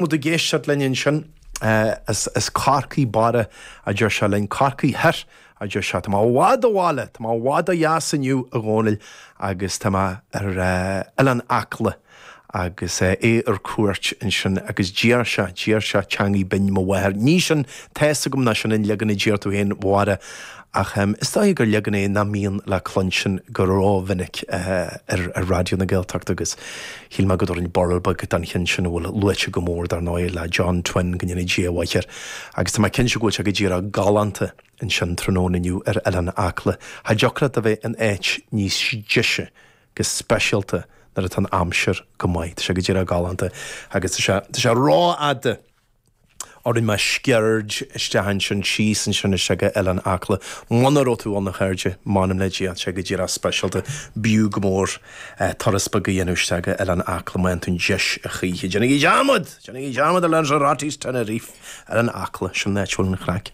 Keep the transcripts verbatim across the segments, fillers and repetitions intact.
Muid ag éisteacht linn ansin as as Corcaigh Barra a deir sé linn Corcaigh Thoir a deir sé Tá mé i bhfad ó bhaile, Tá mé i bhfad ó dheas inniu a Dhónaill agus tá mé ar Oileán Acla agus é ar cuairt ansin agus d'iarr sé d'iarr sé teangaidh binn mo mháthar. Ní sin tá's agam nach sin an leagan a d'iarr tú féin a Mháire ach is dóigh gur leagan é nach mbíonn le cluinstin go rómhinic ar ar Raidió na Gaeltachta agus shíl mé go dtabharfainn borradh beag don cheann sin a bhfuil luaite go mór dar ndóigh le John Twin go ndéana Dia a mhaith air agus tá mé cinnte go bhfuil sé go díreach galánta ansin tráthnóna inniu ar Oileán Acla. Cha dtiocfadh leat a bheith in áit níos deise go speisialta nuair atá an aimsir go maith. Tá sé go díreach galánta agus tá sé tá sé rófhada orainn mar sceird isteach ansin síos ansin isteach go Oileán Acla. Muna raibh tú ann a chairde, m'anam le Dia, tá sé go díreach speisialta. B'fhiú go mór turas beag a dhéanamh isteach go Oileán Acla má fhaigheann tú an deis a choíche. Déanaigí dearmad! Déanaigí dearmad ar Lanzarote Tenerife! Oileán Acla, sin an áit a bhfuil an chraic.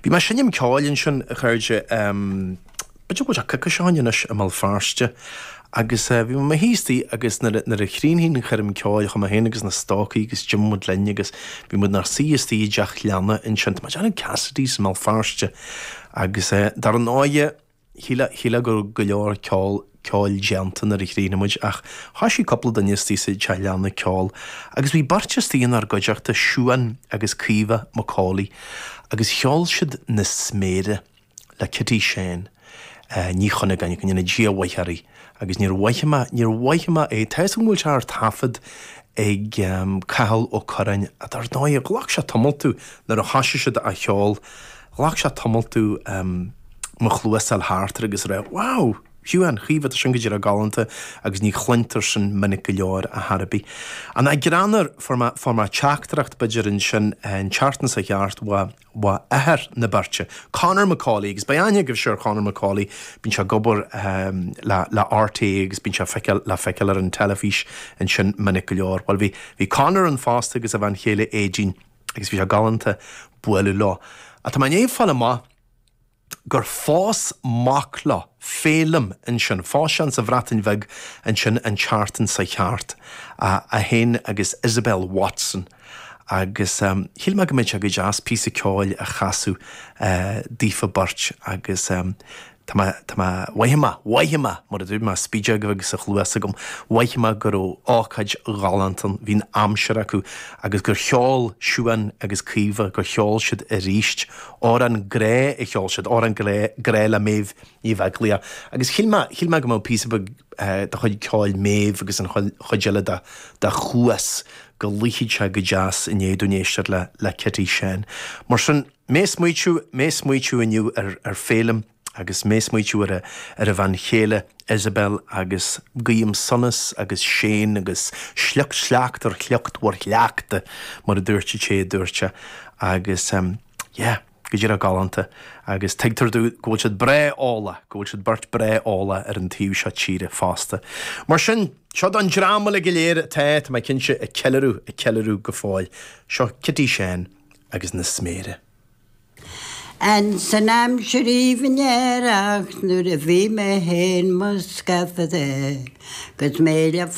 Bhí mé ag seinm ceoil ansin, a chairde, b'fhéidir go bhfuil sé coicís ó shin anois i mBéal Feirste agus bhí mé i mo shuí istigh agus nuair a nuair a chríochnaigh an choirm ceoil chuaigh mé féin agus na stócaigh agus d'imigh muid linn agus bhí muid inár suí istigh i dteach leanna ansin, tá mé ag déanamh Cassidy's i mBéal Feirste agus dar ndóighe shílfeá shílfeá go raibh go leor ceol ceoil déanta nuair a chríochnaigh muid ach thoisigh cúpla duine istigh sa teach leanna ceol agus bhí beirt istigh inár gcuideachta, Siuán agus Caoimhe McAuley agus cheol siad Na Sméara. le Kitty Shane Ní Chuinneagáin, go ndéana Dia a mhaith uirthi, agus níor mhothaigh mé, níor mhothaigh mé é. Tá 'fhios agam go bhfuil sé ar taifead ag Cathal Ó Curráin, ach dar ndóigh, ghlac sé tamall domh nuair a thoisigh siad á cheol, ghlac sé tamall domh mo chluas a fháil thart air agus a rá, wow! Shiúán, Chaoimhe, tá sin go díreach galánta agus ní chluintear sin minic go leor ar chor ar bith. An greannmhar, fuair mé, fuair mé teachtaireacht b'fhéidir ansin an tseachtain seo thart uaidh, uaidh athair na beirte, Conor McAuley, agus beidh aithne agaibhse ar Chonor McAuley, bíonn sé ag obair le, le RTÉ agus bíonn sé feiceáil, le feiceáil ar an teilifís ansin minic go leor. Bhuel bhí, bhí Conor ann fosta agus a bhean chéile Aedín agus bhí sé galánta bualadh leo. Ach tá mé i ndiaidh fáil amach, gur phós mac leo, Féilim, ansin, phós sé sa Bhreatain Bheag ansin an tseachtain seo thart, é féin agus Isabel Watson agus shíl mé go mbeadh sé go deas píosa ceoil a chasadh daofa beirt agus tá mé, tá mé, mhothaigh mé, mhothaigh mé, mar a dúirt mé, spideog bheag sa chluas agam, mhothaigh mé go raibh ócáid ghalánta ann, bhí an aimsir acu agus gur cheol Siuán agus Caoimhe, gur cheol siad arís Amhrán grá a cheol siad, amhrán grá le Méabh Ní Bheaglaoich. Agus shíl mé, shíl mé go mbeadh píosa beag de chuid ceoil Méabh agus an chuid eile de, de Chuas, go luífeadh sé go deas i ndiaidh dúinn éisteacht le, le Kitty Shane. Mar sin, mé ag smaoitiú, mé ag smaoitiú inniu ar, ar Féilim agus mé ag smaoitiú ar a, ar a bhean chéile Isabel agus guím sonas agus séan agus sliocht sleacht ar shliocht bhur shleachta, mar a dúirt an té a dúirt sé. Agus, yeah, go díreach galánta. Agus tuigtear domh go bhfuil siad breá eolach, go bhfuil siad beirt breá eolach ar an taobh seo tíre fosta. Mar sin, seo don dream uilig go léir atá, tá mé cinnte, ag ceiliúradh, ag ceiliúradh go fóill. Seo Kitty Shane agus na Sméara. Ins an aimsir aoibhinn aerach nuair a bhí mé féin 'mo scafaire 'gus mé le